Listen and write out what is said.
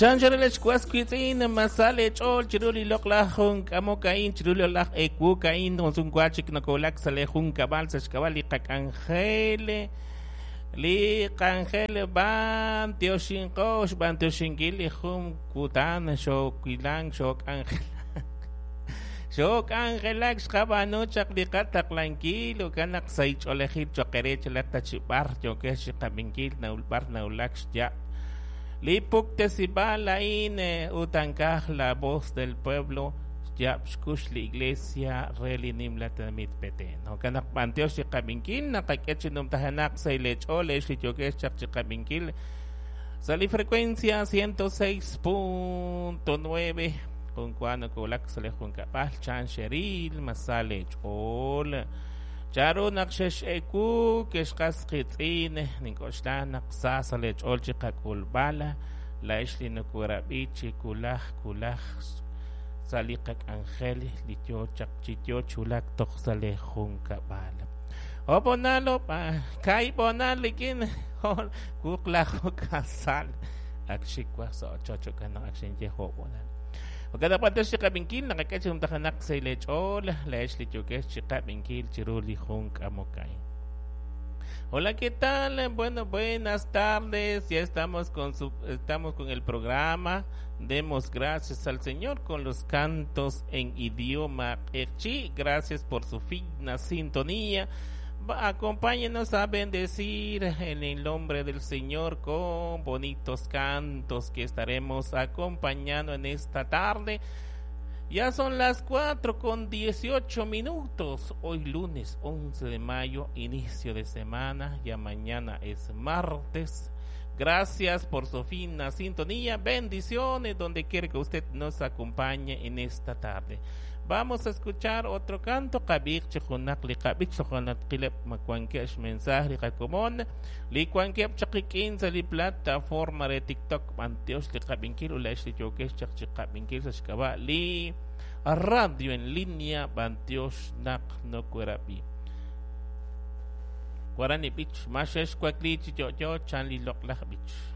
Chanchorelex was wiitz'in ma sa leech'ool chiru li loq'laj junk'amok a'in chiru li loq'laj ewuk a'in junsumwa chik nokowulak sa' lee junkab'al sa' xk'ab'a' li qak'anjel li k'anjel b'antioxinqo xb'antioxinkil li jun kutan xoowilank xook'anjelak xook'anjelak xqab'aanu chaq li qataqlankil jo'kan naq sa' ch'oolejil cho'q eere chalaq ta chi b'ar yookex chi qab'inkil b'ar nawulak xyaab' li puktesib'aal a'in ut ankaj La Voz del Pueblo xyaab' xkux li iglesia re li nimla tenamit Petén. Jo'kan naq b'antiox li qab'inkil naqak'e chi numtajenaq sa' leech'ool ex li yookex chaq chi qab'inkil sa' li frecuencia 106.9 jun wa nokowulak sa' li junkab'al chan xeril ma sa leech'ool charu naq xex'ewu kexqas qitz'in nink'oxla naq sa sa' leech'ool chi qak'ulb'al la'ex li nokorab'i chi wulaj wulaj sa' li qak'anjel li yo chaq chi yo chulak toj sa' li junkab'al. Obonalo kaibonal likin wuqlaju kasal ak xikwa sa' ochoch jo'kan naq ak xinye jo'bonal. Jo'kan naq b'antiox chi qab'inkil naqak'e chi numtajenaq sa' leech'ool la'ex li yookex chi qab'inkil chiru li jun k'amok a'in. Hola, ¿qué tal? Bueno, buenas tardes. Ya estamos con su, estamos con el programa. Demos gracias al Señor con los cantos en idioma q'eqchi. Gracias por su fina sintonía. Acompáñenos a bendecir en el nombre del Señor con bonitos cantos que estaremos acompañando en esta tarde. Ya son las 4:18. Hoy lunes 11 de mayo, inicio de semana. Ya mañana es martes. Gracias por su fina sintonía. Bendiciones donde quiera que usted nos acompañe en esta tarde. Vamos a escuchar otro canto. Qab'ihaq chi junaq li qab'ich toja' qileb ma wankeb' xmensaje li qakomon li wankeb' chaq qik'in sa' li plataforma re TikTok b'antiox li qab'inkil ut la'ex li yookex chaq chi qab'inkil sa' xk'ab'a' li radio en línea b'antiox naq nokorab'i. Waran li b'ich ma xexwakli chi yo'yo chan li loq'laj b'ich.